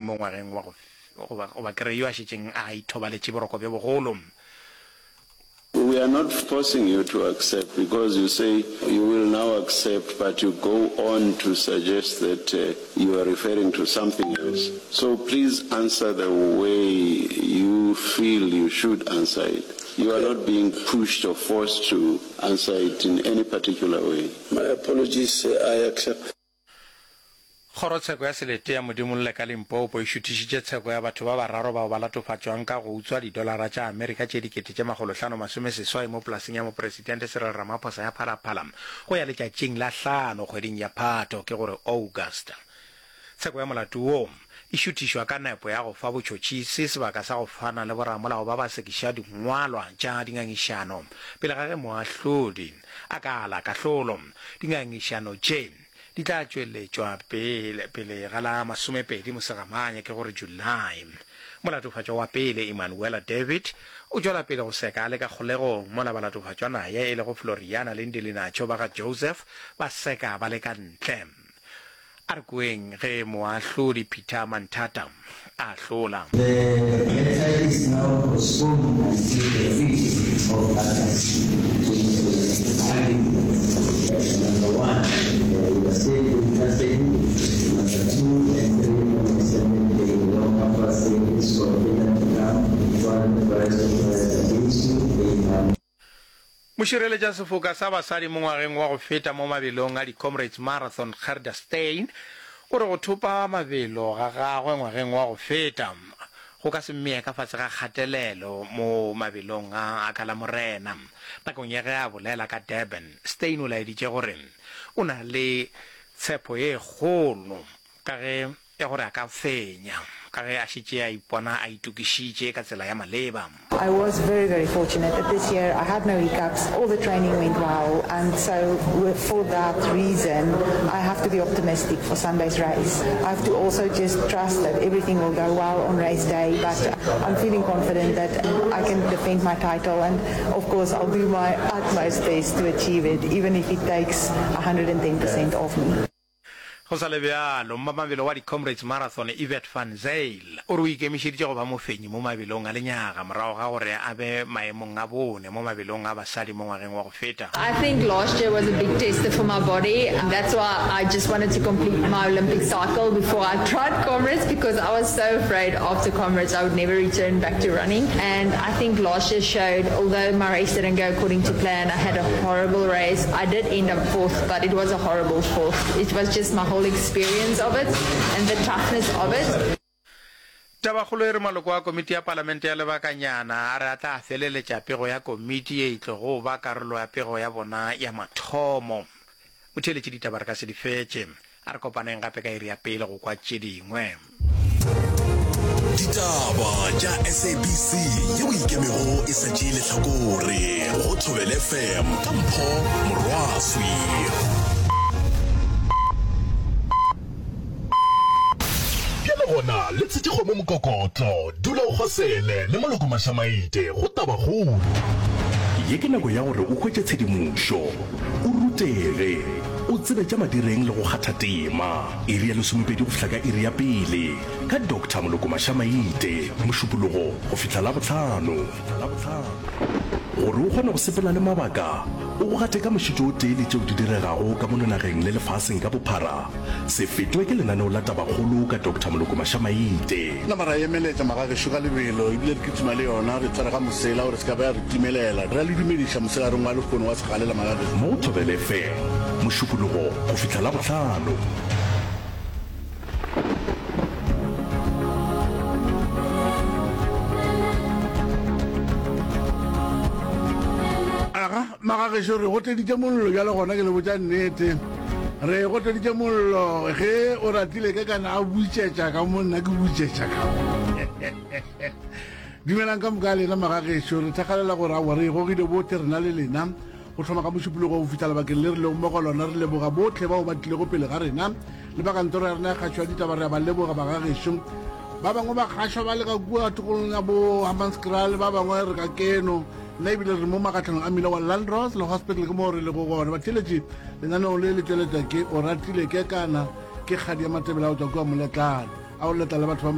mo ngwageng wa go goba, goba ke re yo a šetšeng a ithobaletše boroko bjo bogolo. We are not forcing you to accept because you say you will now accept but you go on to suggest that you are referring to something else. So please answer the way you feel you should answer it. You are not being pushed or forced to answer it in any particular way. My apologies, I accept. Kgorotsheko ya Selete ya Modimolle ka Limpopo e šuthišitše tsheko ya batho ba bararo bao ba latofatšwang ka go utswa didolara tša Amerika tše 8,580 mo polaseng ya Mopresidente Cyril Ramaphosa ya Phalaphala go ya letšatšing la hlano kgweding ya Phato, ke gore August. Tsheko ya molato wo e šuthišwa ka nepo ya go fa botšhotšhisi sebaka sa go fana le boramolao ba ba sekiša dingwalwa tša dingangišano pele ga ge moahlodi a ka ala kahlolo. Dingangišano tše di tla tšweletšwa pele pele ga la masomepedi Mosegamanye, ke gore July. Molatofatšwa wa pele, Emanuela David, o tšwela pele go seka a le ka kgolegong, mola balatofatšwa naye e lego Floriana le Ndilinacho ba ga Joseph ba seka ba le ka ntle. A re kweng ge moahlodi Peter Manthata a ahlola. The matter is now postponed until the fifth of August 2020. Arguments, Number one, we are still in custody. Number two and three on a certain day, no longer fasting is forbidden to come while the rest of us against you, they are. Mošireletšasefoka sa basadi mo ngwageng wa go feta mo mabelong a di-Comrades Marathon Gerda Steyn o re go thopa mabelo ga gagwe ngwageng wa go feta go ka se mmee ka fase ga kgatelelo mo mabelong a a ka Lamorena. Nakong ya ge a bolela ka Durban, Steyn o laeditše gore o na le tshepo ye kgolo ka ge ya gore a ka fenya ka ge a šetše a ipona a itokišitše ka tsela ya maleba. I was very very fortunate that this year I had no hiccups, all the training went well and so for that reason I have to be optimistic for Sunday's race. I have to also just trust that everything will go well on race day but I'm feeling confident that I can defend my title and of course I'll do my utmost best to achieve it even if it takes 110% of me. Go sa le bjalo, mmamabelo wa di-Comrades Marathon Yvette van Zyl o re o ikemišeditše go ba mofenyi mo mabelong a lenyaga morago ga gore a be maemong a bone mo mabelong a basadi mo ngwageng wa go feta. I think last year was a big tester for my body that's why I just wanted to complete my Olympic cycle before I tried Comrades because I was so afraid after Comrades I would never return back to running and I think last year showed although my race didn't go according to plan I had a horrible race I did end up fourth but it was a horrible fourth. It was just my whole experience of it and the toughness of it. Tabakgolo e re maloko a komiti ya palamente ya lebakanyana a re a tla feleletša pego ya komiti ye e tlogo ba karolo ya pego ya bona ya mathomo. Motheeletši ditaba re ka se di fetše. A re kopaneng gape ka iri ya pele go kwa tše dingwe. Ditaba tša SABC yeo ikemego e sa tšee lehlakore go Thobela FM ka Mpho Morwaswi. Bjale gona le tshetše kgomo mokokotlo, dula o kgosele le Moloko Mašamaite go Tabakgolo. Ye ke nako ya gore o hwetše tshedimošo, o rutege, o tsebe tša madireng le go kgatha tema. Iri ya lesomepedi go fihla ka iri ya pele ka Doctor Moloko Mašamaite, Mošupologo go fihla Labohlano. Gore o kgone go sepela le mabaka, o go gate ka mošito o tee le tšeo di diregago ka mono nageng le lefaseng ka bophara, se fetwe ke lenaneo la Tabakgolo ka Doctor Moloko Mašamaite. Nama ra emeletša magagešo ka lebelo, ebile re kitima le yona, re tshwere ga mosela gore se ka ba ya re timelela. Re a le dumediša mosegareng wa lehono wa segalela magagešo. Mo Thobela FM, Mošupologo go fihla Labohlano. Aga, magagešo re goteditše mollo bjale gona ke le botša nnete. Re goteditše mollo ge o ratile ke kana a butšetša ka mo nna ke butšetša ka mo. Dumelang ka moka lena magagešo re thakgalela gore aowa re e gogile bohle rena le lena Go thoma ka Mošupologo go fihla lebakeng le re lego mo go lona, re leboga bohle bao ba tlilego pele ga rena le ba kantoro ya rena ya kgašo ya ditaba. Re a ba leboga bagagešo. Ba bangwe ba kgašwa ba le ka kua tokolong ya bo Hammanskraal, ba bangwe re ka keno. Nna ebile re mo makgatlhanong a mmila wa Landros le Hospital ke moo re lego gona. Batheeletši, lenaneong le le tšweletša ke Oratile Kekana, ke kgadi ya Matebele a go tšwa kua Moletlane. A o letla le batho ba.